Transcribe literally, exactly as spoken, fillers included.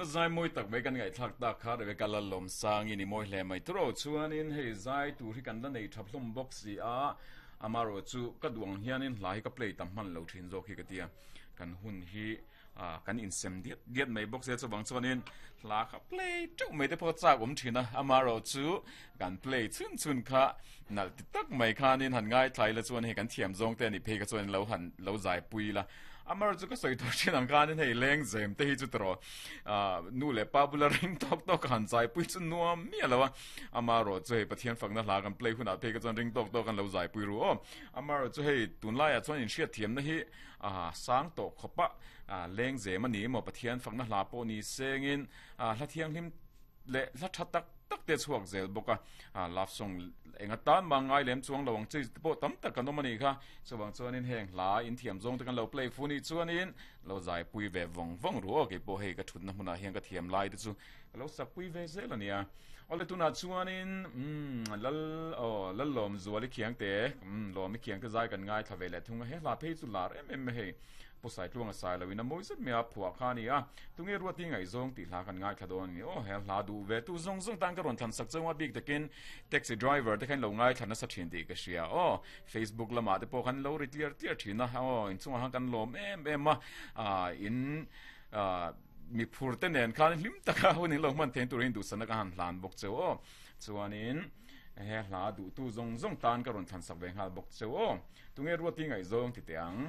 Tuna zai mawi tak mai kan ngaihthlak tak kha Rebecca Lallawmsangin i mawi hle mai tawrh chuanin hei zai tur hi kan la nei tha hlawm bawk si a amarawh chu ka duh ang hianin hla hi ka play tam hman lo thin zawk hi ka tia kan hun hi kan insem diat diat mai bawk sia chuvang chuanin hla kha play teuh mai te pawh chak awm thin a amarawh chu kan play chhun chhun kha nalh ti tak mai khanin han ngai thlai la chuan hei kan thiam zawng te ani phei kha chuan lo han lo zai pui la amar chu ka soi thor thin ang khanin hei leng zem te hi chu tro nu le pa bula ring tok tok han zai pui chu nuam mi alowa amaro chu hei pathian fakna hla kan play huna phei ka chuan ring tok tok kan lo zai pui ru o amaro chu hei tunlai ah chuan in hriat thiam na hi a sang to khopa leng zem ani mo pathian fakna hla pawh ni sengin hla thiang hlim le hla tha tak tak te chhuak zel bawka love song enga tan ma ngai lem chuang lo ang chi pawh tam tak kan awm ani kha chuwang chuanin heng hla in thiam zawng te kan lo play fu ni chuanin lo zai pui ve vawng vawng ru ke pawh hei ka thutna hmunah hian ka thiam lai te chu lo sak pui ve zel ania ole tuna chuanin um lal o lal lawm zuali khiang te um lawm khiang te zai kan ngai thla ve le thunga he hla phei chu lar em em hei pusai tluanga sai lawin a mawi zet mai a phuah kha ani a tunge ruati ngai zawng tih hla kan ngai thla dawn ani o he hla duh ve tu zawng zawng tan ka rawn thlan sak chawnga bik takin taxi driver te khan lo ngai thla nasa thin tih ka hria o Facebook lamah te pawh khan lo ri tliar tliar thin a o inchungah khan kan lawm em em a in mi phur te nen khan hlim taka hun in lo hman thein turin duhsana ka han hlan bawk cheu o chuanin he hla duh tu zawng zawng tan ka rawn thlan sak ve nghal bawk cheu o tunge ruati ngai zawng ti te ang.